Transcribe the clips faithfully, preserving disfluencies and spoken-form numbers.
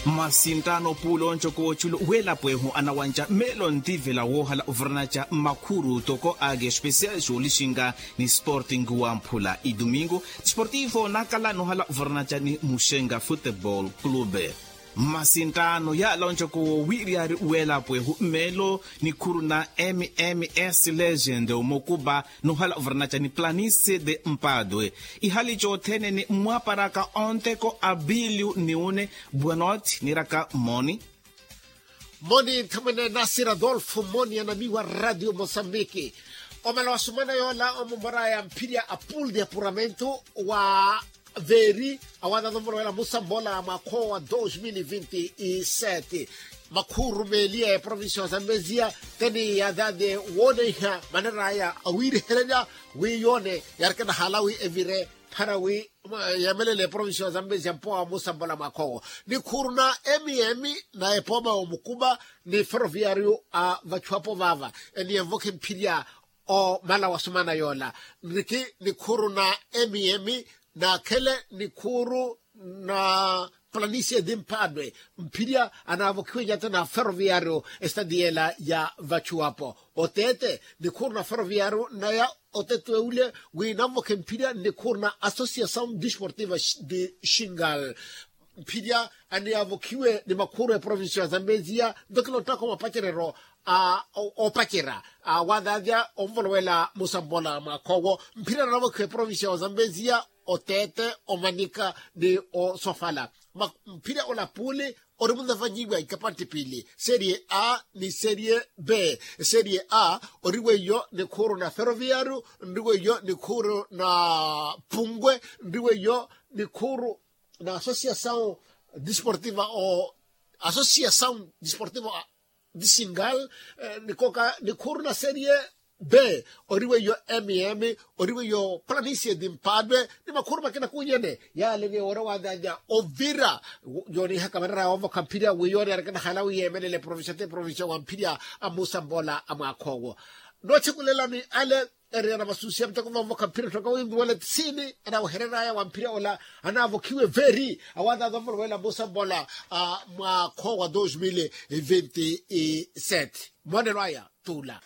Mmasinttaano puula oncoka w'oculo w'elapo ehu anawanja meelo ntivela woohala oviranaca mmakhuru toko ake especial xoolixinka ni sporting wamphula idumingu. Sportivo nakala noohala oviranaca ni muxenka football club. Mmasinttaano yaala oncoka wowiiriyari w'elapo ehu meelo nikhuru na mms legend omukupa noohala oviranaca ni planice de mpatwe. Ihali cothene ni mmwaparaka onteko a bilio ni une bwanoti niiraka mmoni. Mmoni nthamwene nasir adolfo mmoni anamiwa radio mosambiki. Omala wa sumana yoola omumoraya mphirya a pool de apuramento wa veeri awaathaatha omulowela musambola mwaakhowa wa dos mil vinti sete. Makhuru meeliya ya provincia wa zambezia teni yathaathe wooneiha maneraya awiirihererya wi yoone yarikena halawi evire phara wi yeemelele provincia wa zambezia mpowa wa musambola mwaakhowo. Nikhuru na mm na epooma omukupa ni ferroviario a vachuapo vaava eni envokhe mphirya omala wa sumana yoola. Nriki nikhuru na mm naakhele nikhuru na planicie di mphaadwe mphirya anaavokhiwe nyata na ferroviario estadi yeela ya vachuwapo oteete nikhuru na ferroviario naya oteete ule wi nanvokhe mphirya nikhuru na associação desportiva de xingal. Mphirya aniyaavokhiwe ni makhuru eprovincia ya zambezia nto kilottaka omapacereryo a oopacerya awaathaatha onvolowela musambola mwaakhowo mphirya nanavokhiwe eprovincia wa zambezia oteete omanika ni osofala. Mphirya olapuli ori munavanyiwa ikapantti pili serie a ni serie b. Serie a ori weiyo nikhuru na ferroviario nri weiyo nikhuru na pungwe nri weiyo nikhuru na associação desportiva o associação desportiva de xingal. Nikoka nikhuru na serie b ori weiyo mm ori weiyo planicie di mphaadwe ni makhuru makina kunyene yaale ni ewora waanyaanya ovira yoonihaka manera yoovokha mphirya wi yoone arikina halawi yeemelela eprovincia ti eprovincia wa mphirya a musambola a mwaakha owo. Noochekulelani ale eriyana masusia muteko voovokha mphira ttoka wimbi wala tisiini anaawehereraya wa mphira ola anaavokhiwe veeri awaathaatha omulowela musambola mwaakho wa dos mil vinti sete. Mmoonelo aya tuula.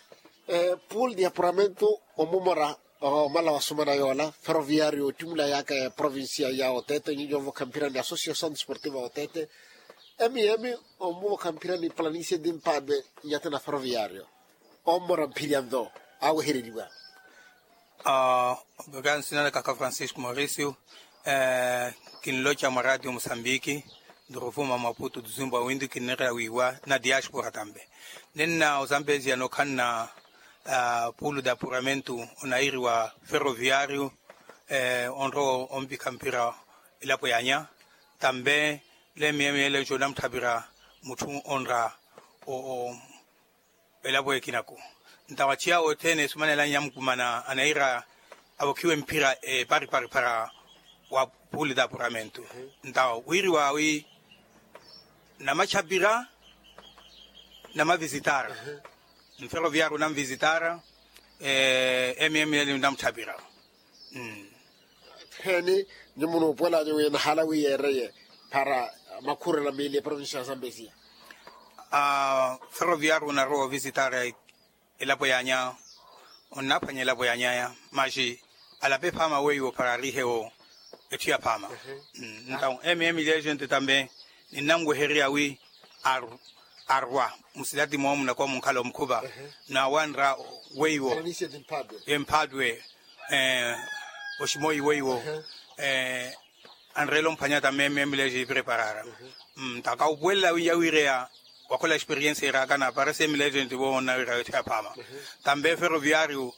Pool de apuramento omumora omala wa sumana yoola ferroviario ottimula yaaka ya provincia ya oteete nyinyi ovokha mphira ni associação desportiva oteete. Emi emi omuvokha mphira ni planicie di mpaadwe nyata na ferroviario ommora mphirya nto awehereriwa. Aa. Okansina na kaka francisco mauricio kinloca mwa radio musambiki nduruvuma mwa putu duzumba windu kinirira wiiwa na diaspora tambe. Nenna osambezia nokhanna pulo de apuramento onairiwa ferroviario onrowa ompikha mpira elapo yanya tambe lemiye miyelenco namutthapira mutthu onra elapo ekinaku. Ntawa aciya othene esumanela nyamukumana anaira avokhiwe mphira eparipari para wa puli d'apuramento. Ntawa wiriwa wi namachapira namavisitara mferoviaru namvisitara. Emiye miye namutthapira. Heni nyumu nuupuwelanya wi nahala wi yeereye para makhurela miili eprovincia ya zambezia. Ferroviaru onarowa ovisitara elapo yanya onnaphwanya elapo yanyaya maxi alape phaama weiwo para arihewo etthu ya phaama. Ntawo emiye miili ya gente tambe ninnanwehererya wi arwa musitati moomu nakowa munkhala omukhupa nawanra weiwo emphaatwe oximoyi weiwo anreela omphwanya tambe emiye miili ya gente preparara. Ntaka upuwelela wi yawiireya wakhola experience erakana para emiye miili ya gente wo onnawira yotthe ya phaama tambe ferroviario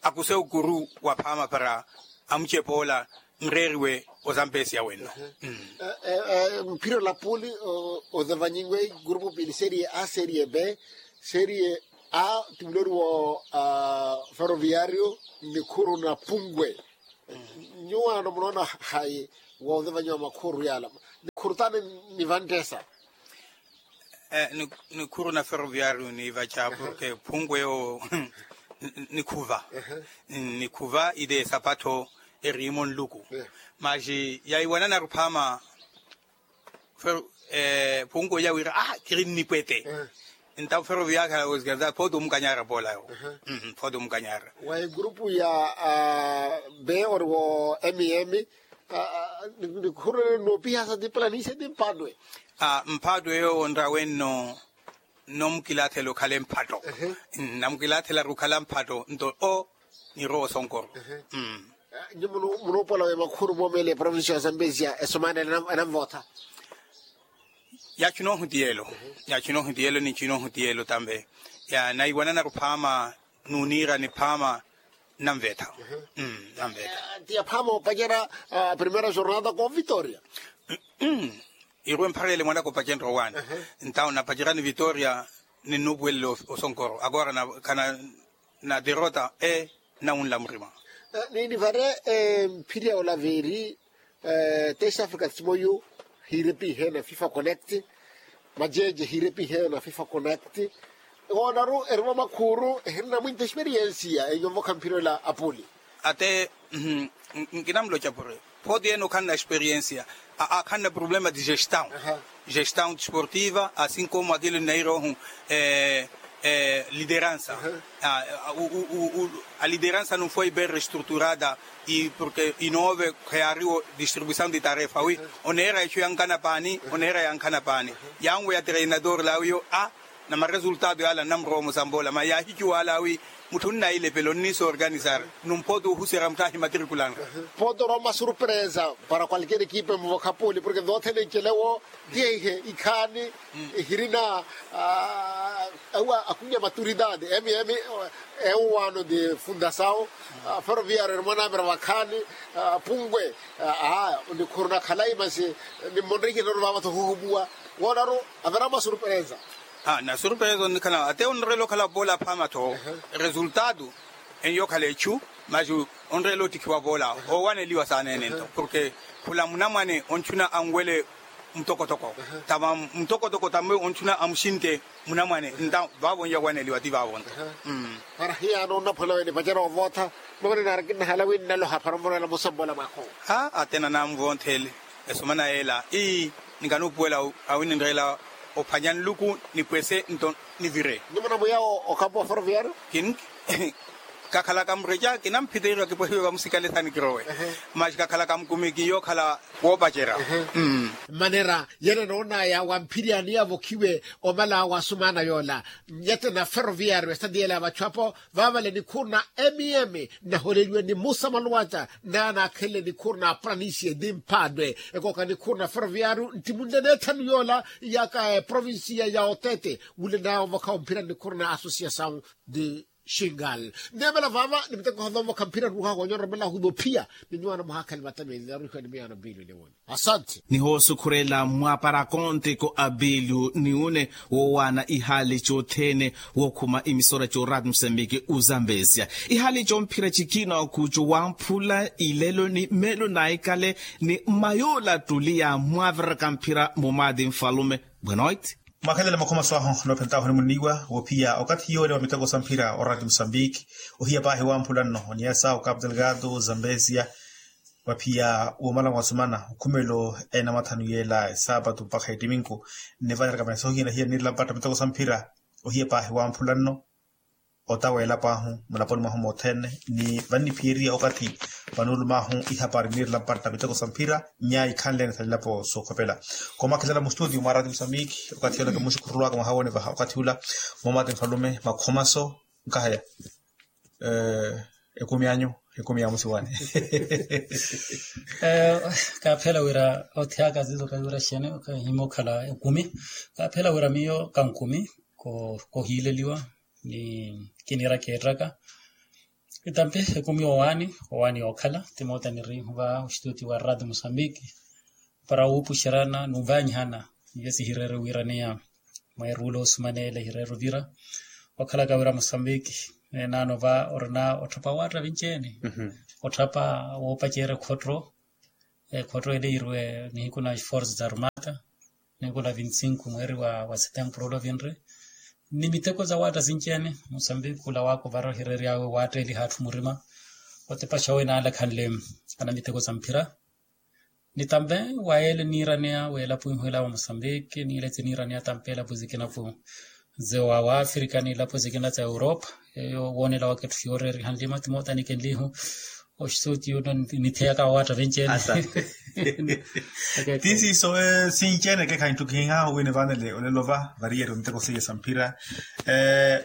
akuse ukuru wa phaama para amucepa ola nreeriwe ozampesiya wenno. Mphira olapuli ozavanyiwe grupu pili serie a serie b. Serie a timuloriwo ferroviario nikhuru na pungwe. Nyuwo ano munoona hayi wa ozavanyiwa makhuru yala nikhuru tani nivanttesa. Nikhuru na ferroviario niivaca porke phungwe yo nikhuva nikhuva ile sapato erimo nluku. Maxi yaiwananaru phaama Phunku oya wira ah kiri nnipwete. Entawu ferroviaria ya organiza photo omukanyara pola yo. Photo omukanyara. Wa egrupu ya be ori wo mm. Nikhurele noopihasa ti planisia ti mpatwe. Mpatwe yo onrawe nno. Nno mukilathela okhale mpatto. Nno mukilathela ori okhala mpatto nto o nirowa osonkoro. Nyuwo munoopola we makhuru moomele provincia ya zambezia esomana enanvootha. Yaachu noohutiyelo. Yaachu noohutiyelo ni nchu noohutiyelo tambe. Naiwananaru phaama nuuniira ni phaama nnanvetha. Nnanvetha. Ti ya phaama opacerya primeira jornada ko vitoria. Irwe mpharele mwanaka opacenrya owaani. Entawu napacerya ni vitoria ninnuupuwelela osonkoro agora khana na derota e nnawunla murima. Niinivare mphiri ya olaveri. Test africa timoyu hiirepiheya na fifa connect. Majeje hiirepiheya na fifa connect. Woonaru erimo makhuru ehirinamwinta experiensia enyovokha mphiri ola apuli. Ate nkinamloca puri photo yene okhanna experiensia. Akhanna problema de gestão. Gestão desportiva asinko mwakilo nnairoohu lideransa. A lideransa nunfoi bem restruturada. E porke inoove kheyariwo distribuição de tarefa wi oneera echu yankana paani oneera yankana paani. Yanwe ya treinador lawiyo a na maresultado yala nnamurowa omusamboola maya yaahicuwa ala wi mutthu nnailepela onniisa organizar. Numpoota ohuserya mutthu ahimatrikulanra. Poota orowa masurpresa para qualquer equipe muvokha puli porke voothene ncelewo. Tiye ihe ikhaani ehirina awa akumi ya maturidade mm. Ewuwaano de fundasawo ferroviario eri mwanamira vakhaani. Pungwe aa onikhuruna khalayi masi nimmonrikina ori vaava-tho ohuhupuwa. Woonaru avira masurpresa. Na surpresa onnikhala ate onreela okhala poola phaama-tho resultado. Enyo okhala echu masi onreela ottikhiwa poola owaneliwa saana ene nto porke khula munamwane ontthuna anwele mutokotoko tava mutokotoko tamwe ontthuna amuxinte munamwane nta vaavo onyawaneliwa ti vaavo nto. Para hiyaano onnaphwela wene pacerya ovootha. Mavani naari kinnahala wi nnaloha para onvoroela musamboola mwaakhu. Ate nanamuvonthele esomana yeela ii nikanuupuwela awi ninreela ophwanya nluku nipwese nto nivire. Nyuwo munamuya okapu wa ferroviario. Kakhalaka mureca kinamphiteiwa kipwehiwe vamusikale sani kirowe. Masi kakhalaka mukumi kiyookhala woopacerya. Mmanera yene noonaya wa mphiryaani yavokhiwe omala wa sumaana yoola nyete na ferroviario esitati yeela ya vachu apo vaavale nikhuru na mm. Nnaholeliwe ni musa maluwaca naanaakhenle nikhuru na pranisia ti mphaatwe ekooka nikhuru na ferroviario ntimunle n'ethanu yoola ya provincia ya otete wule naaya ovokha omphira nikhuru na associação de xingal. Nneemela vaava ni miteko hoova ovokha mphira ruuha koonyora omalahuvi ophiya ni nyuwaana muhaakhale matamiili naruuhiwa ni miyaano mpiili oniwona. Asante. Nihoosukhurela mwaapara akontiko a bilu ni une woowaana ihaali cothene wookhuma imisora coorati musambiki ozambezia ihaali comphira cikina okucu wamphula ilelo ni meelo naikale ni mmayoola tuli ya mwaviraka mphira mumaati nfalume. Bwenoiti. Mwakhelela makhomaso ahu noophentahu nimuniiwa woophiya okathi yoole wa miteko sa mphira orati musambiki ohiya paahi wamphula nno oniasa okapu delgado zambezia. Waphiya woomala mwasumana okhumelo ena mathanu yeela esaapatu mpakha etiminku. Nnivaleraka maisa ohiyana hiya niirela mpatta miteko sa mphira ohiya paahi wamphula nno. Otaweela paahu mulaponi mwahu mothene ni vanniphiyeriya okathi vanuulumaahu ihapari niirela mpatta miteko sa mphira nyaya ikhanlene sa nilapo sookhopela. Koomakhelela mustutiyo mwa rati musambiki okathi yola kimuxukhurulwaka mwaha woone vaha okathi ula. Moomati nfalume makhomaso nkahaya ekumi anyu ekumi ya musiwani. Kaaphela wira othiyaka zizo kahiwira xene kahimokhala ekumi. Kaaphela wira miyo kankumi kohiileliwa ni kiniira keettaka. Itampe ekumi owaani owaani yookhala timoota niriihuva oxituti wa rati musambiki para wuupuxerana nunvanyihana. Iyo sihireere wiiraneya mweeruula osumaneela ehireere ovira okhalaka wira musambiki neenaano va orina otthapa waatta vinci-ene. Otthapa woopaceerya ekhotto ekhotto ele yiirwe nihiku na esforce za armata nihiku na vinti-sinku mweeri wa setempuru ole ovinre. Ni miteko za waatta sinci-ene musambiki khula waaka ovara ohireery'awe waatteeliha atthu murima otepaxa owe naalakhanle ana miteko za mphira. Ni tampe wa ele niiraneya welapo inhwela wa mosambiki ni iletse niiraneya tampe elapo zikina pu ze wa afrika ni elapo zikina za europa. Eyo wonela waka etthu yooreriha nlima timoota nikenlihu. Oxisuti yuno nitheyaka wawatta venceene. Tisiiso. Sinceene kekha inttukihiha wini vanele olelova variyeri onteko seiya samphira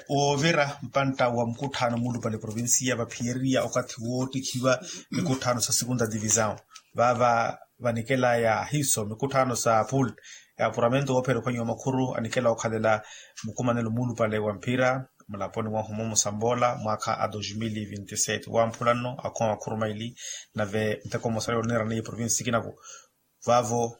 woovira mpantta wa mukutthano mulupale provincia vaphiyeriya okathi woottikhiwa mikutthano sa segunda divisao. Vava vanikelaya hiiso mikutthano sa pool ya apuramento woophera ophwanyiwa makhuru anikela okhalela mukumanelo muulupale wa mphira mulaponi mwahu mumusamboola mwaakha a dos mil vinti sete wamphula nno akhuwa makhuru maili. Nave nteko mosarelo niiraniye provinsi sikinaku vaavo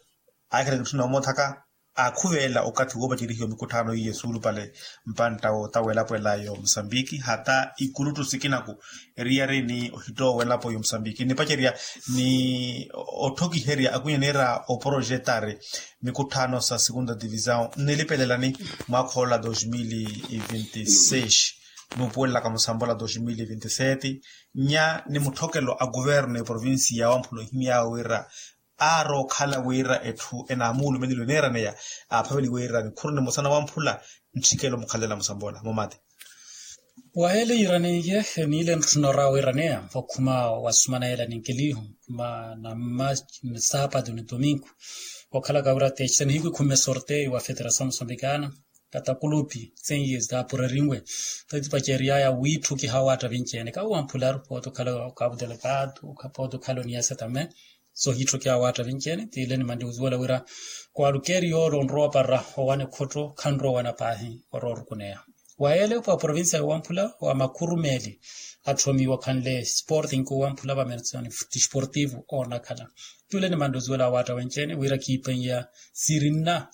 aakhela kitthuna omoothaka aakhuveela okathi woopacerihiwa mikutthano iye suulupale mpantta wootawa elapo ela yo musambiki hata ikuluttu sikinaku eriyari ni ohittowa elapo yo musambiki nipacerya ni otthokiherya akwinye niira oporojetari mikutthano sa segunda divisao nnilipelelani mwaakha ola dos mil vinti seis nuupuwelelaka musambola dos mil vinti sete nya ni mutthokelo a kuvernu ya provinsi ya wamphula ohimyaawe wira aari okhala wira etthu enaamuulumeleliwe neeraneya aaphaveliwe wira nikhuru nimosa na wamphula ntthikelo mukhalela musambola mumati. Waheele yiraneiye niile ntthuna orawa wiraneya okhuma wasumana yeela ninkelihu ma namma saapatu ni tominku okhalaka wira texe nihiku ikhumme sorteio wa federasaw musambikana katakulupi senye zaapurerinwe tatipaceriaya wiitthukiha awaatta vinci-ene kawo wamphularu pooti okhala okapu delegado okapu pooti okhala oniyasa tame sohiitthukiha awaatta vinci-ene tiile nimanle ozuwela wira kwaalukeeri yoole onrowa opara owana ekhotto khanrowa owana paahi orowa orukuneya wa yeele wa provincia yowamphula wa makhuru meeli atthoomiwa okhanle sporting owamphula vamerson disportivo oonakhala tule nimanle ozuwela awaatta wenci-ene wira kiipeiya siirinna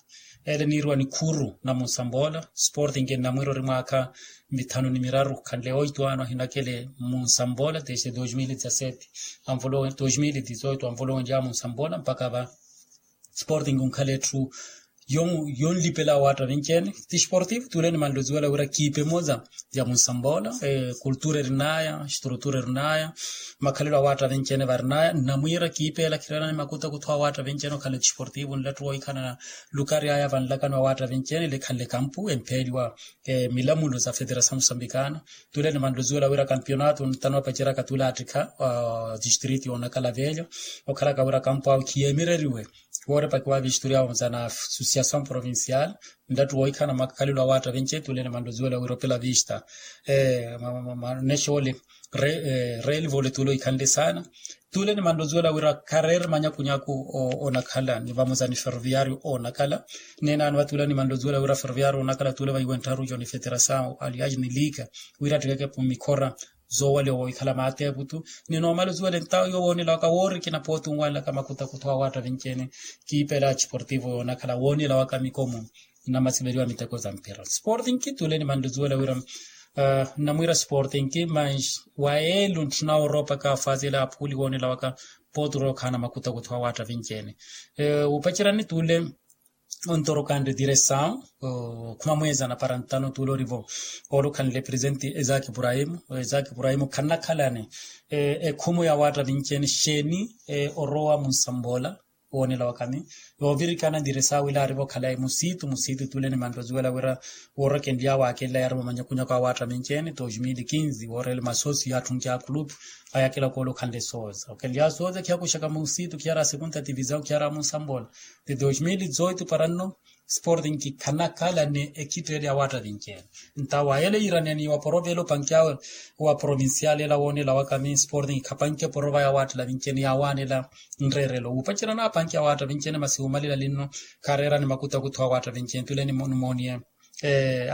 ele niiriwa nikhuru na munsamboola sporting ennamwiira ori mwaakha mithanu ni miraru khanle oito ano ahinakele munsamboola desde dos mil dezasete anvolo dos mil dezoito anvolowenlya munsamboola mpakha va sporting onkhala etthu yonlipela awaatta vinci-ene ti sportivo tule nimanle ozuwela wira kiipe emoza ya munsamboola kultura erinaya estrutura erinaya makhalelo awaatta vinci-ene varinaya nnamwiira kiipeela khirana ni makutakutho awaatta vinci-ene okhanle ti sportivo nlattu wohikhanana lukari aya vanlakano awaatta vinci-ene lekhanle kampu empheeliwa milamulo za federasaw musambikana tule nimanle ozuwela wira kampionato ntano apaceraka tule attikha distrito yoonakhala velho okhalaka wira kampu awe khiyeemireriwe woorepakiwa visturia wa muzana associasaw provincial nlattu wohikhana makhalelo awaatta vinci-ene tule nimanle ozuwela wira opela vista nexoole reelivole tule ohikhanle saana tule nimanle ozuwela wira khareeri manyakunyaku oonakhala ni vamoza ni ferroviario oonakhala neenaano va tule nimanle ozuwela wira ferroviario oonakhala tule vaiwe nttharu jo ni federasaw aliaji ni liika wira attikeke mikhora zoowaliwa wohikhala maateeputu ni noomala ozuwela entawo yowo woonela waka woorikina pooti onwanlaka makutakutho awaatta vinci-ene kiipela chiportivo yoonakhala woonela waka mikomu namasiveliwa miteko za mpira sporting tule nimanle ozuwela wira nnamwiira sporting mas wa yeelo ntthuna oropaka afazi ela aphuuli woonela waka pooti orookhana makutakutho awaatta vinci-ene wuupacerani tule ontorokanre diresaw khuma mweeza na para ntano tule orivo oolukhanle presente ezaki ibrahimu ezaki ibrahimu khanakhalani ekhumu ya waatta vinci-ene xeeni orowa munsamboola woonela wakami yoovirikana diresaw ila arivo khalayi musiitu musiitu tule nimanle ozuwela wira woorokenly'awe aakenly'awe yarivo manyakunyaku awaatta vinci-ene dos mil quinze wooreele masoosi yaatthunki akulupu ayakela koola okhanle sooza okenly'awe sooza khiyakuxaka musiitu khiyara segunda divisaw khiyara munsamboola ti dos mil dezoito para nno sporting khanakhala ni ekhitteeli awaatta vinci-ene nta wa yeele yiiraneya ni wa porovelo panki awe wa provincial ela woonela wakami sporting khapanki eporova ya waatta vinci-ene yaawaanela nreerelo wuupacerana apanki awaatta vinci-ene masi wuumalela linno khareerani makutakutho awaatta vinci-ene tule nimooniye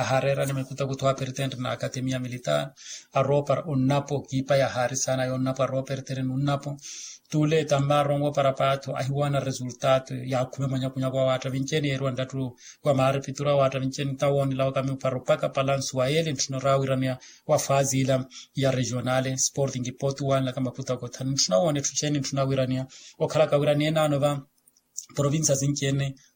ahaareerani makutakutho apertente na akatemia militar aroopara onnapo kiipa yahaari saana yonnapo aroopara etereni onnapo tule tammarongo para paatho ahiwaana resultato yaakhume manyakunyaku awaatta vinci-ene yeeriwa nlattu wa maarepituru awaatta vinci-ene nta woonela wakami opara opaka palansu wa yeele ntthuna orawiranaya wa fazi ila ya regionale sporting pooti wanlaka makutakutho ntthuna woona etthu xeeni ntthuna wiranaya okhalaka wira neenaano va provincia sinci-ene